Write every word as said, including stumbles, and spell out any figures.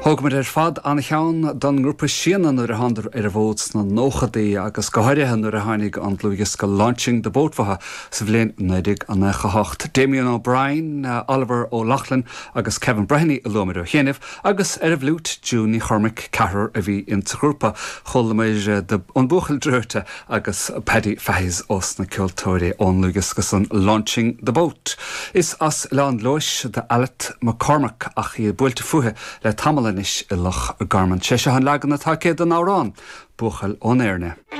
Thógamar ar fad an-cheann don ngrúpa Síona nuair a thánadar ar an bhfód sna nóchaidí agus go háirithe nuair a tháinig an dlúthdhiosca Launching the Boat uathu sa bhliain naoi déag nócha hocht. Damien O'Brien, Oliver O'Loughlin agus Kevin Breheny a luamar ó chianaibh agus ar an bhfliúit June Ní Chormaic ceathrar a bhí insa ghrúpa. Chualamar an Buachaill Draoite agus Paddy Fahy's ós na ceoltóirí ón ndlúthdhiosca san Launching the Boat. Is as Oileán Leodhais d'Alette McCormack ach í buailte fúithi le tamall anois i Loch Garman. Sé seo an leagan atá aici den amhrán, Buachaill ón Éirne.